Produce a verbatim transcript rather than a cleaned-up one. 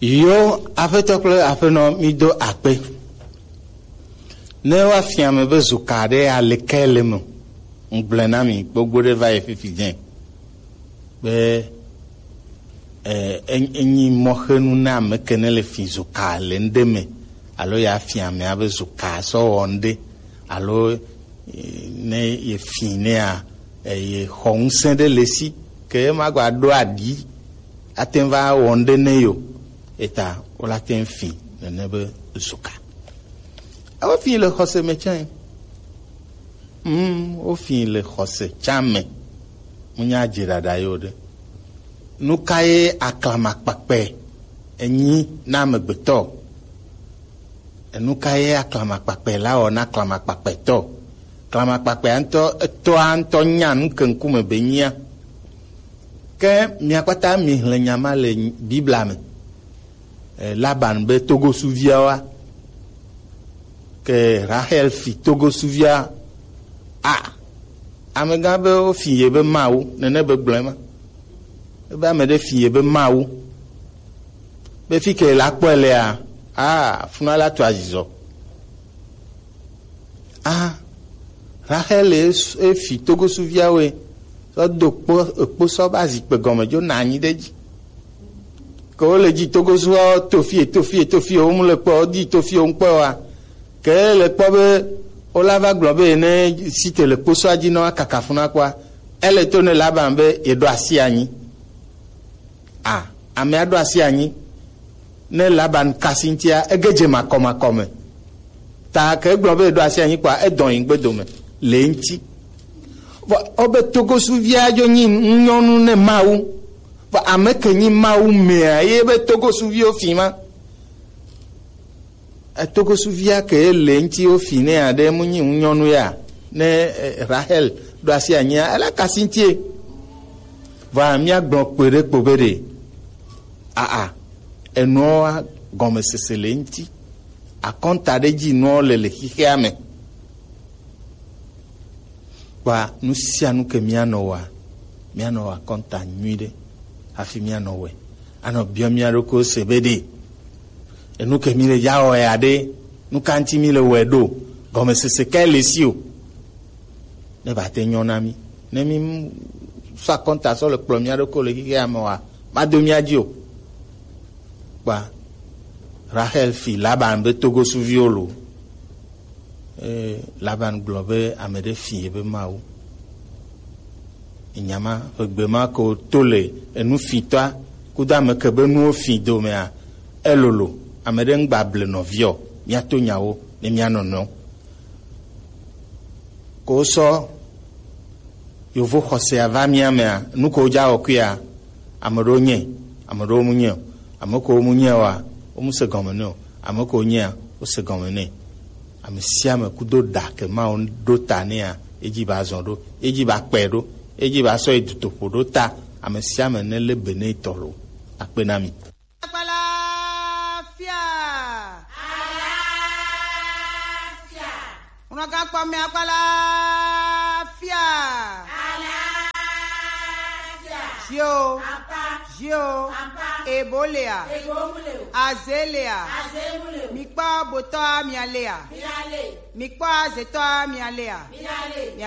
Yo, aƒetɔ kple aƒenɔ, mi do akpe. Ne woafia ame be zuka ɖe aleke le me, ŋgblẽ na mi gbogbo ɖe va yi fifi dzẽ. Be, eh, en-, enyi mɔxenu na ame ke ne le fi zuka le ŋɖe me, alo ya fia amea be zuka sɔ wɔ ŋɖe, alo, eh, ne ye fi nea, eh, ye xɔ ŋusẽ ɖe le si, ke ema gba ɖo aɖi, ate ŋu va wɔ ŋɖe ne yo, eta wola te ŋu fi nene be zuka. Ewo fi le xɔse me tsã. Hmm, wo fi le xɔse tsã me. Munya dze ɖaɖa yo ɖe. Nu ka ye aklamakpakpe enyi na amegbetɔ? Enu ka ye aklamakpakpe la wɔ na aklamakpakpetɔ? Aklamakpakpea ŋutɔ, etɔa ŋutɔ nya nu ke ŋkume be nyia. Ke mia kpata mi hlẽ nya ma le Biblia me. Eh, Laban be togosuviawoa, ke Rahel fi togosuvia. A, amegã be wofi ye be Mawu, nene be gblɔe ma. Ebe ame ɖe fi ye be Mawu. Be fi ke la kpɔe lea, a, funa la to azizɔ. A, Rahel e s-, e fi togosuviawoe, sɔ do kpo, ekpo sɔ ba zikpe gɔme dzo na anyi ɖe dzi. Ke wo le dzi togosuviawo to fie, to fie, to fie, wo mu le kpɔ, wo di to fie, wo ŋkpɔ wa. Ke le kpɔ be, wo la va gblɔ be ne si te le kposɔa dzi nɔ akaka funa kpɔa, ele to ne Laban be ye ɖo asi anyi. A, amea ɖo asi anyi. Ne Laban kasi ŋutia, ege dze makɔmakɔ me. Ta ke egblɔ be eɖo asi anyi kpɔa, edɔ yi gbedo me le eŋuti. Vɔ, wobe togosuvia dzo nyi nyɔnu ne Mawu. Vɔ, ame ke nyi Mawu mea, ye be togosuviwo fi ma. Etogosuvia ke le ŋuti wo fi ne aɖe mu nyi nyɔnu ya. Ne, eh, Rahel ɖo asi anyia, ele kasi ŋutie. Vɔ, míagblɔ kpe ɖe kpo be ɖe, aa, enuawo gɔmesese le ŋuti. Akɔnta ɖe dzi nuawo le le xixea me. Kpa nu sia nu ke míanɔ wɔa, míanɔ wɔ akɔnta nyuiɖe hafi míanɔ wɔe. Anɔ biɔ mía ɖokuiwo se be ɖe, enu ke mi le ya wɔ ya ɖe, nu ka ŋuti mi le wɔe ɖo, gɔmesese kae le si o. Ne ba te nyɔ na mi. Ne mi sɔ akɔnta sɔ le kplɔ mía ɖokuiwo le xixea me wa, ma do mía dzi o. Kpa Rahel fi Laban be togosuviwo lo. Eye Laban gblɔ be ame ɖe fi ye be Mawu. Enya ma, ƒegbe ma ko to le enu fitɔa kudo ame ke be nuwo fi domea, elolo, ame ɖe ŋgba ble nɔviɔ, míato nyawo ne míanɔ nɔ. Ko sɔ yovo xɔsea va mía mea, nu ko dza wɔkuia, ame ɖewo nye, ame ɖewo mu nye o, ame ko mu nye oa, wo mu se gɔme nɛ o, ame ko nyea, wo se gɔme nɛ. Ame sia ame kudo ɖa ke Mawu ɖo ta nɛa, edzi ba zɔ ɖo, edzi ba kpɛ ɖo, edzi ba sɔ yi dutoƒo ɖo ta, ame sia ame ne le be ne tɔ lo. Akpe na mi. Akpalafia. Alafia. Unaka kpɔ mi akpalafia. Alafia. Zio. Apa. Zio. Apa. Ebo lea. Ebo mu le o. Aze lea. Aze mu le o. Mi kpɔ botɔa mi alea. Mi ale. Mi kpɔ azetɔa mi alea. Mi ale.